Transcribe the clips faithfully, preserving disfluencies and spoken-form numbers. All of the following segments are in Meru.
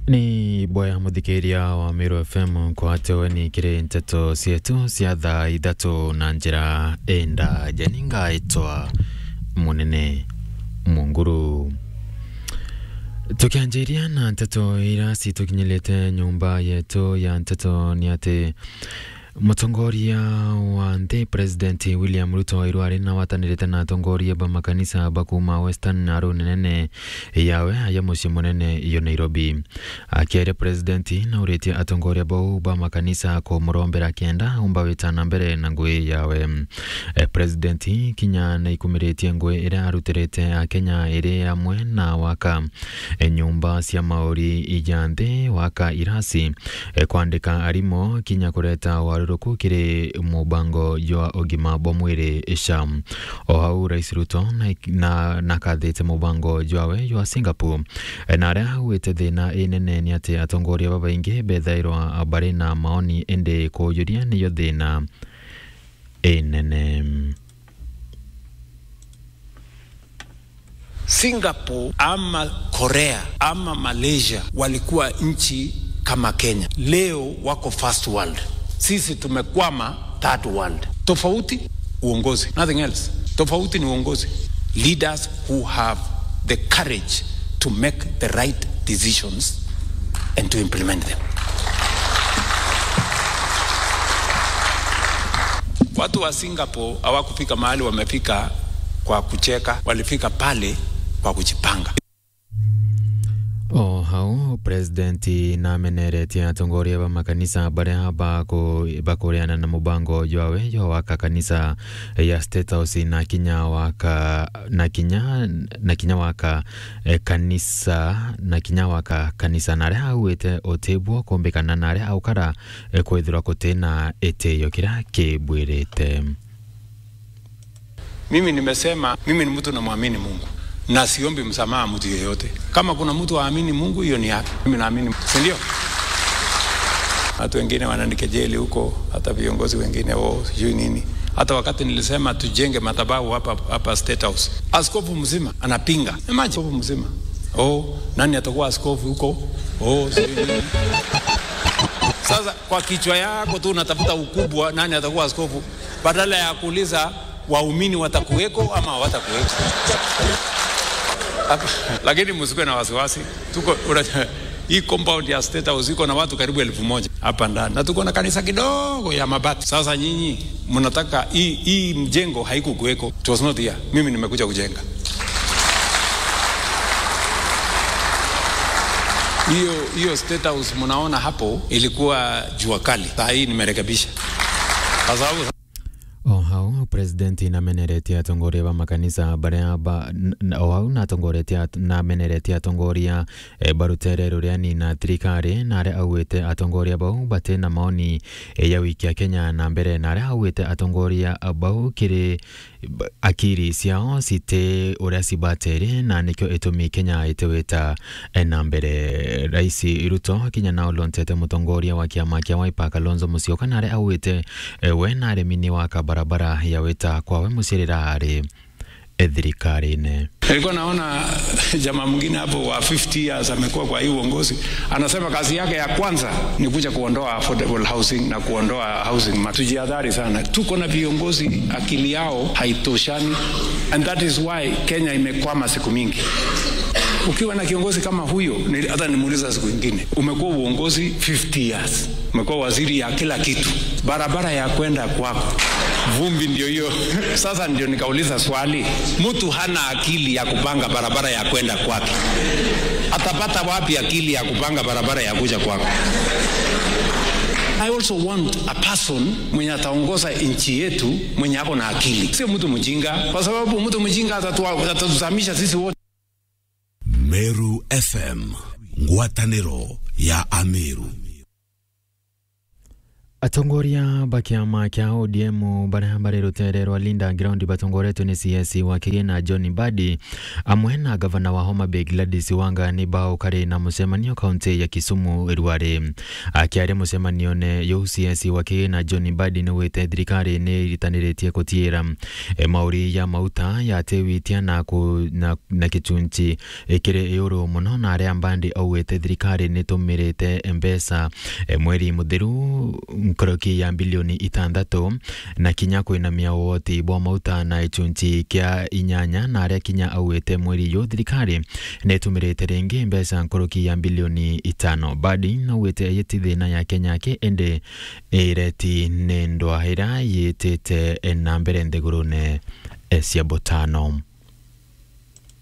Ni bwega muthikiria wa Meru F M, nkwatewe ni kiri nteto cietu cia thaa ithatu na njira indaja. Ni ngaitwa Munene Munguru. Tukianjiria na nteto iria citukinyirite nyumba yetu ya nteto, ni ati mutongoria wa nthi, President William Ruto, iru ari na watanirite na atongoria ba makanisa ba kuuma Western Narok nene yawe aja mucii munene yo Nairobi. Akiaria, President nauritie atongoria bau ba makanisa kumurombera kenda umba wita na mbere na ngui yawe. Eh, President kinya naikumiritie ngui iria arutirite Akenya iri amwe na waka, eh, nyumba cia mauri ija nthi, waka irasi, eh, kwandika arimu, kinya kureta waruruku kiri mubango jwa ugima bwa mwiri, SHA. O hau, Rais Ruto na, na, nakathite mubango jwawe jwa Singapore, eh, na aria augite thina inene ni ati atongoria babaingi bethairwa bari na maoni, indi kuujuria niyo thina inene. Singapore ama Korea ama Malaysia walikuwa nchi kama Kenya. Leo wako first world. Sisi tumekwama third world. Tofauti uongozi, nothing else. Tofauti ni uongozi. Leaders who have the courage to make the right decisions and to implement them. Watu wa Singapore hawakufika mahali wamefika kwa kucheka, walifika pale kwa kujipanga. O hau, President nameneretie atongoria ba makanisa baria baku-, bakuriana na mubango jwawe jwa waka kanisa ya State House na kinya waka, na kinya, na kinya waka, eh, kanisa, na kinya waka kanisa, na aria augite utibwo kumbikana na aria aukara, eh, kwithirwa kutina itiyo kiria kibwirite. Mimi nimesema, mimi ni mtu namwamini Mungu. Na siombi msamaha mtu yeyote. Kama kuna mtu haamini Mungu, hiyo ni yake. Mimi naamini, si ndio? Watu wengine wananikejeli huko, hata viongozi wengine, "Oh, sijui nini." Hata wakati nilisema tujenge madhabahu hapa, hapa State House, askofu mzima anapinga. Imagine, askofu mzima. "Oh, nani atakuwa askofu huko? Oh, sijui nini." Sasa, kwa kichwa yako tu unatafuta ukubwa, nani atakuwa askofu, badala ya kuuliza waumini watakuweko ama hawatakuweko. Hapa, lakini msikuwe na wasiwasi. Tuko, una-, hii compound ya State House iko na watu karibu elfu moja hapa ndani. Na tuko na kanisa kidogo ya mabati. Sasa nyinyi, mnataka hii, hii mjengo haikukuweko. It was not here. Mimi nimekuja kujenga. Hiyo, hiyo State House mnaona hapo ilikuwa jua kali. Saa hii nimerekebisha. Kwa sababu O hau, President nameneretie atongoria ba makanisa baria ba-, n-, n-, o hau natongoretie at-, nameneretie atongoria, eh, ba rutere ruria ni na thirikari, na aria augite atongoria bau bati na maoni, eh, ya wikia Kenya na mbere, na aria augite atongoria bau kiri b-, akiri ciao citi uria cibatiri, na nikio itumi Kenya itiwita, eh, na mbere. Rais Ruto kinya na ulontete mutongoria wa kiama kia Wiper Kalonzo Musyoka, na aria augite, eh, we na arimi ni waka barabara ya wita kwawe mucirira ari, eh, thirikarine. Nilikuwa naona jamaa mwingine hapo wa fifty years amekuwa kwa hii uongozi, anasema kazi yake ya kwanza ni kuja kuondoa affordable housing na kuondoa housing ma-, tujihadhari sana. Tuko na viongozi akili yao haitoshani, and that is why Kenya imekwama siku mingi. Ukiwa na kiongozi kama huyo, ni-, hata nimuuliza siku ingine, umekuwa uongozi fifty years. Umekuwa waziri ya kila kitu. Barabara ya kwenda kwako, vumbi ndio hiyo. Sasa ndio nikauliza swali, mtu hana akili ya kupanga barabara ya kwenda kwake, atapata wapi akili ya kupanga barabara ya kuja kwako? I also want a person mwenye ataongoza nchi yetu mwenye ako na akili, sio mtu mjinga, kwa sababu mtu mjinga atatua-, atatuzamisha sisi wote. Meru F M, ngwatanĩro ya Ameru. Atongoria ba kiama kia O D M baria bari rutere rwa Linda Ground batongoretwe ni C S wa Kigina John Mbadi, amwe na gavana wa Homa Bay Gladys Wanga, ni baukari na mucemanio kaunti ya Kisumu irwari. Akiaria mucemanione juu, C S wa Kigina John Mbadi ni wite thirikari ni iritaniritie kutiira, e, mauri ya mauta ya tiwitia na ku-, na, na kichunchi ikiri iuru muno, na aria Mbadi augite thirikari nitumirite mbeca, e, mweri muthiru nkoroki ya bilioni itantatu, na kinya kwinamia ugoti bwa mauta na ichunchi kia inyanya, na aria kinya augite mweri uyu thirikari nitumirite ringi mbeca nkoroki ya bilioni itano. Mbadi naugite iji ti thina ya Kenya aki, indi ireti ni ndwaa iria yitite na mbere nthigurune, e, cia butano.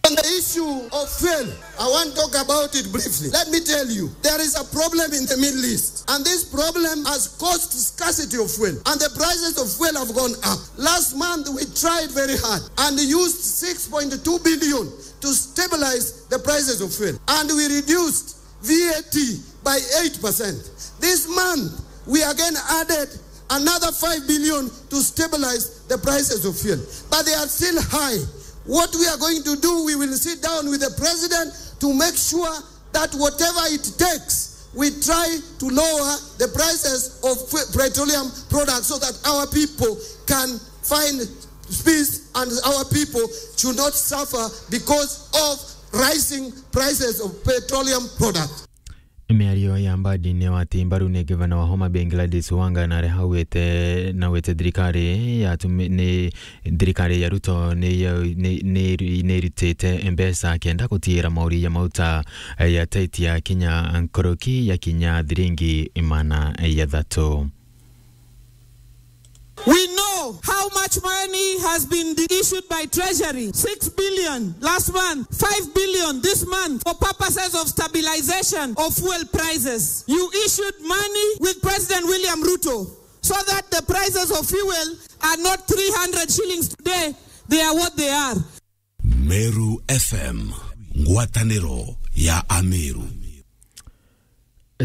On the issue of fuel, I want to talk about it briefly. Let me tell you, there is a problem in the Middle East, and this problem has caused scarcity of fuel, and the prices of fuel have gone up. Last month, we tried very hard and used six point two billion to stabilize the prices of fuel, and we reduced V A T by eight percent. This month, we again added another five billion to stabilize the prices of fuel. But they are still high. What we are going to do, we will sit down with the president to make sure that whatever it takes, we try to lower the prices of fu-, petroleum products so that our people can find peace and our people should not suffer because of rising prices of petroleum products. Miario ya Mbadi ni wati mbaru ni gavana wa Homa Bay Gladys Wanga, na aria augite, na augite thirikari ya tumi-, ni thirikari ya Ruto ni ya, ni, ni, ni irutite mbeca kenda gutiira mauri ya mauta ya taitia kinya nkoroki ya kinya thiringi imana ya thatu. We know how much money has been issued by Treasury, six billion last month, five billion this month, for purposes of stabilization of fuel prices. You issued money with President William Ruto so that the prices of fuel are not three hundred shillings today, they are what they are. Meru F M, ngwataniro ya Ameru.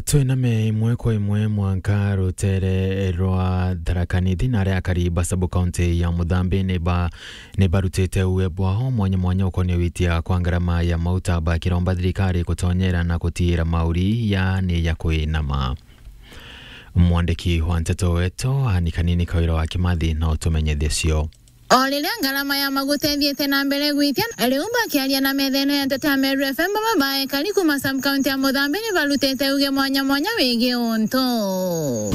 Twiname imwe kwa imwe mwanka rutere rwa Tharaka Nithi, na aria akari ba sub-county ya Muthambi ni ba-, ni barutite uwe bwao mwanya mwanya ukonie witia kwa ngarama ya mauta, bakiromba thirikari gutonyera na gutiira mauri ya ni ya kwinama. Mwandiki wa nteto wetu, Ani Kanini Kawira wa Kimathi, na utumenyithie cio. O riria ngarama ya maguta ithiite na mbere gwitia, riu bakiaria na metha ino ya nteto ya Meru F M, baba ba ekari kuuma sub-county ya Muthambi ni barutite uge mwanya mwanya wigie untu.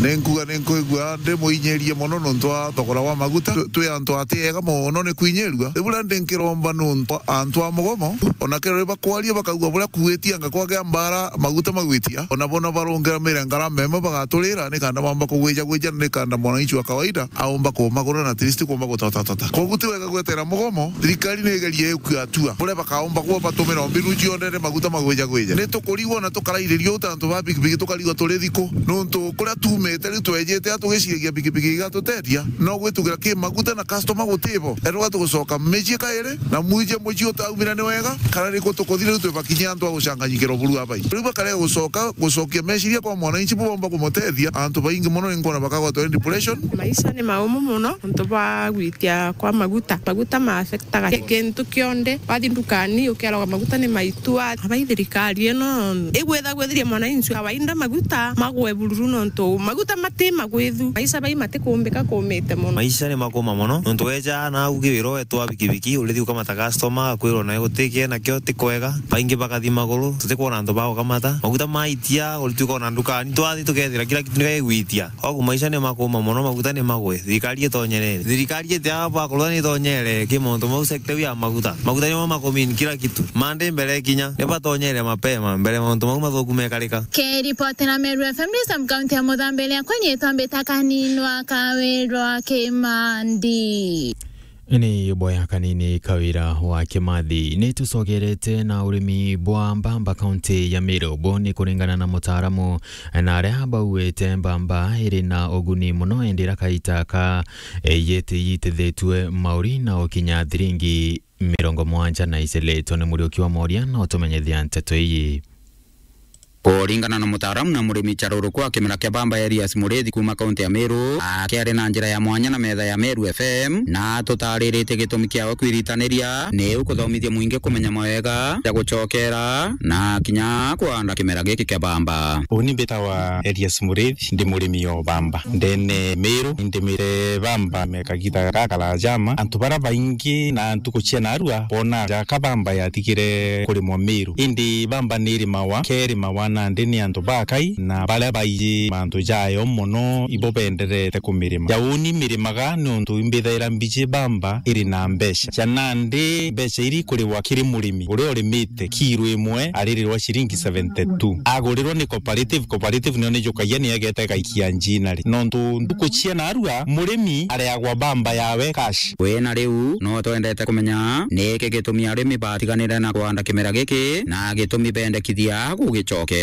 Ni nkuga ni nkwigua ndi muinyirie mono nontu wa thogora wa maguta. Twi, twi antu ati ega mono ni kwinyirua. Riu buria ndi nkiromba nontu antu a mugomo, ona kero bakwaria bakaigua buria kuitia anga kwagea mbara maguta magwitia, ona bona barungiramire ngarama imwe bagaturira, ni kanda bamba kugwija gwija, ni kanda mwananchi wa kawaida aumba kumagura na at least kumba gutotatota. Koguo ti wega gwetera mugomo, thirikari ni igerie ikue atua buria bakaumba kuo batumira mbinu cionde ni maguta magwija gwija. Ni tukurigwa na tukarairirio ta antu ba pikipiki, tukarigwa turi thiku, nontu kuria tumite riu twejete a tugiciragia pikipiki igatuteethia, no gwitugira ki maguta na customer gutibo. Eroga tugucoka micii kairi, na mwije mucii utaumira ni wega, kana riku tukuthire riu twibakinyia antu a gucanganyikirwa buru abai. Riu bakare gucoka, gucokia meciria kwa mwananchi bubomba kumutethia. Antu baingi mono ni nkwona bakagwatwa ni depression. Maisha ni maumu mono nontu bwa gwitia kwa maguta. Maguta ma affectaga ki-, kintu kionde. Wathi ndukani ukeroga maguta ni maitua. Abai thirikari ino igwitha gwithiria mwananchi kawaida maguta magwe bururu nontu maguta mati magwithu. Maisha bai matikumbika kumite mono. Maisha ni makuma mono nontu weja na au kiwiro wetwa pikipiki, urithi ukamata customer, akwirwo nawe gutikie nakio ti kwega. Baingi bakathi maguru, tutikwona antu ba gukamata. Maguta maitia, urituika ona ndukani, twathi tukethira kila kitu ni gigwitia. Ogu maisha ni makuma mono, maguta ni magwe. Thirikari itonyerere. Thirikari iti aba bakorwa ni itonyere ki mauntu mau sector ya maguta. Maguta nimo makumini kila kitu. Mande mbere kinya, ni batonyere mapema, mbere mauntu mau mathuku mekarika. Kiripotera Meru F M ndi sub-county ya Muthambi, riakwa nyitwa mbita Kaninwa Kawirwa Kimandi. Ni boya Kanini Kawira wa Kimathi. Ni tucogerete na urimi bwa mbamba kaunti ya Meru. Bo ni kuringana na mutaaramu, na aria bauite mbamba iri na uguni mono, indi ira kaita ka, e, yiti-, yitithitue mauri na ukinya thiringi mirongo mwanja na iciletwe ni Muriuki wa Moria na utumenyithia nteto iyi. Kuringana na mutaaramu na murimi charurukwa kimera kia bamba Elias Murithi kuuma kaunti ya Meru, akiari na njira ya mwanya na metha ya Meru F M, na tutariritie gitumi kiawe kwiritaniria, niu kuthomithia mwingi kumenya mawega ja gucokera na kinya kuanda kimera giki kia bamba. Uni mbitawa Elias Murithi, ndi murimi o bamba ndene Meru. Ndimire bamba mekagita gakara jama. Antu bara baingi na ntuku cia narua bona jaka bamba yatigire kurimwa Meru. Indi bamba nirimawa, kerimawa nandi ni antu bakai, na baria baiji mantu jayo mono ibo benderete kumirima. Ja uni mirimaga nontu imbithaira mbiji bamba iri na mbeca. Ja nandi mbeca iri kuriwa kiri murimi uria urimite kiro imwe aririrwa ciringi seventy two. Agurirwa ni cooperative, cooperative nio nijukagia ni egete gaikia njinari. Nontu ntuku cia narua murimi areagwa bamba yawe cash. Wina riu no twendete kumenya niki gitumi arimi batiganire na kuanda kimera giki na gitumi bendekithia gugicokera.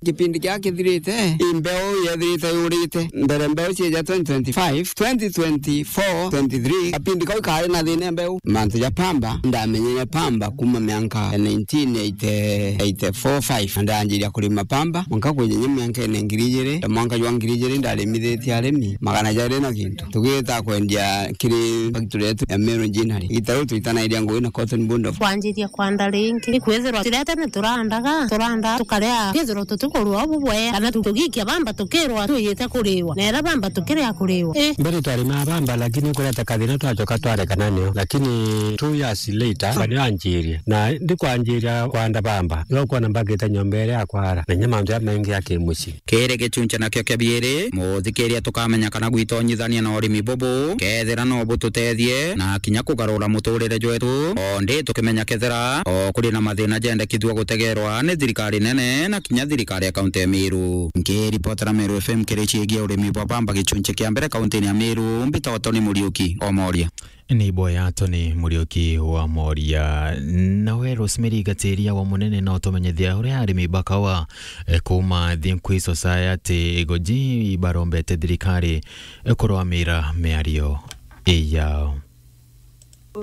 Kipindi kia kithirite, i mbeu yethirite yurite. Mbere mbeu cieja twenty twenty-five, twenty twenty-four, twenty-three, kapindi kau kari na thina mbeu. Mantu ja pamba, ndamenyere pamba kuma mianka ya nineteen eighty, eighty-four five. Na ndanjiria kurima pamba, mwanka kwinya mianka ene ngiri ijiri, na mwanka jwa ngiri ijiri ndarimithitie arimi magana jairi na gintu. Tugita kwendia kiri factory yetu ya Meru Ginnery. Igita riu twitanairia ngugi na Cotton Bond of Kwanjiria kwanda ringi, ikwithirwa turia tene turandaga, turanda tukaria, kwithirwa tutikurua ubu bwea, kana tu-, tugikia bamba tukirwa twiyite kuriwa, na era bamba tukiria kuriwa. I. Mbere twarimaa bamba, lakini kureta kathina twacoka twarekana nio. Lakini two years later, bamba nio anjirie. Na ndikwanjiria kwanda bamba, no kwona mbakite nyomba iria ya kwara, na inya mantu ya maingi ya kimucii. Kiri gichunche nakio kia biiri, muthikiria tukamenya kana gwitonyithania na urimi bubu, kethira no bututethie na kinya kugarura muturire jwetu, o ndi tukimenya kethira o kuri na mathina jendekithua gutegerwa ni thirikari nene na kinya thirikari ya kaunti ya Meru. Nkiripotera Meru F M kiri ciigie urimi bwa bamba gichunche kia mbere kauntini ya Meru, mbitagwa Tony Muriuki o Moria. Ni boya Tony Muriuki wa Moria. Nawe Rosemary Gatiria wa Munene no tumenyithia uria arimi ba kawa, eh, kuma Thinkwi Society Igoji ibarombete thirikari, eh, kurwamira miario iyao.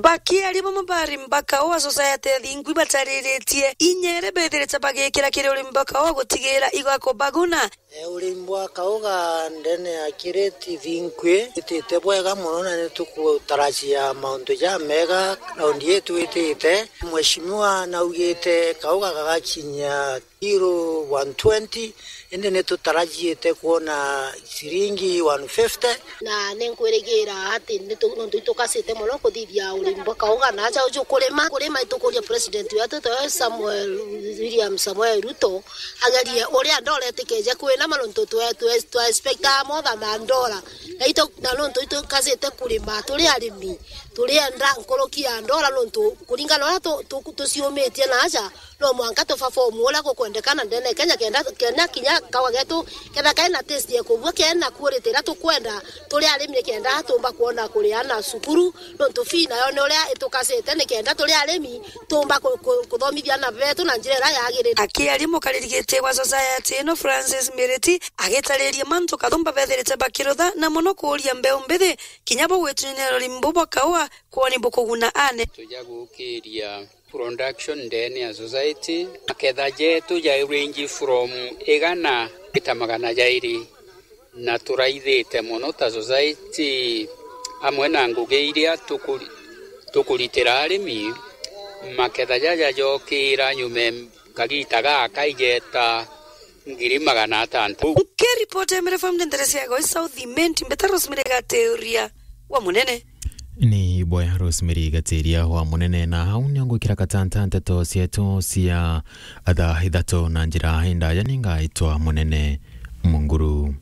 Bakiaria bamwe ba arimi ba kawa Society ya Thinkwi batariritie inya iria bethirite bagikira kiri urimi bwa kawa gutigira igakubaguna. E, urimi bwa kauga ndene ya Kireti Thinkwi itite bwega mono, na ni tukutarajia mauntu jamega raundi ii twitite. Mheshimiwa naugite kauga gagakinyia kiro one twenty, indi ni tutarajiite kwona ciringi one fifty. Na ni nkwirigira ati ni tu-, nontu itukacite mono kuthithia urimi bwa kauga na aja uju kurima, kurima itukuria president wetu tawe Samuel, William Samuel Ruto, agerie uria ndora itikeje kwina ma nontu twe-, twe-, twa expectaa motha ma ndora. Na ito-, na nontu itukacite kurima, turi arimi, turienda nkuruki ya ndora nontu kuringana na uria tu-, tu-, tuciumitie na aja, no mwanka tuperform uria gukwendekana ndene Kenya, kenda, kenda kinya kawa getu, kenda kena taste ya kubua, kena quality iria tukwenda, turi arimi nikenda tumba kwona kuria ana cukuru, nontu fee nayo ni uria itukacite nikenda turi arimi tumba ku-, ku-, kuthomithia ana betu na njira iria yagirite. Akiaria mukariri giti wa society ino Francis Miriti agitariria mantu kathumba bethirite bakirutha na mono kuuria mbeu mbithi kinya bo gwitunyanira urimi bu bwa kaua kwoni bukuguna ane. Tuja gukiria production ndene ya society, maketha jetu ja range from igana gita magana jairi, na turaithite mono ta society amwe na ngugi iria tukuri-, tukuritira arimi, maketha jaja jokira nyume kagita gaka igeta ngiri magana atantatu. Nkiripota Emere Farm Ndenderesia Goi South Imenti, mbeta Rosemary Gateria wa Munene. Ni boya Rosemary Gatiria wa Munene, na hau nio ngwikira katanta nteto cietu cia thaa ithatu na njira indaya. Ningaitwa Munene Munguru.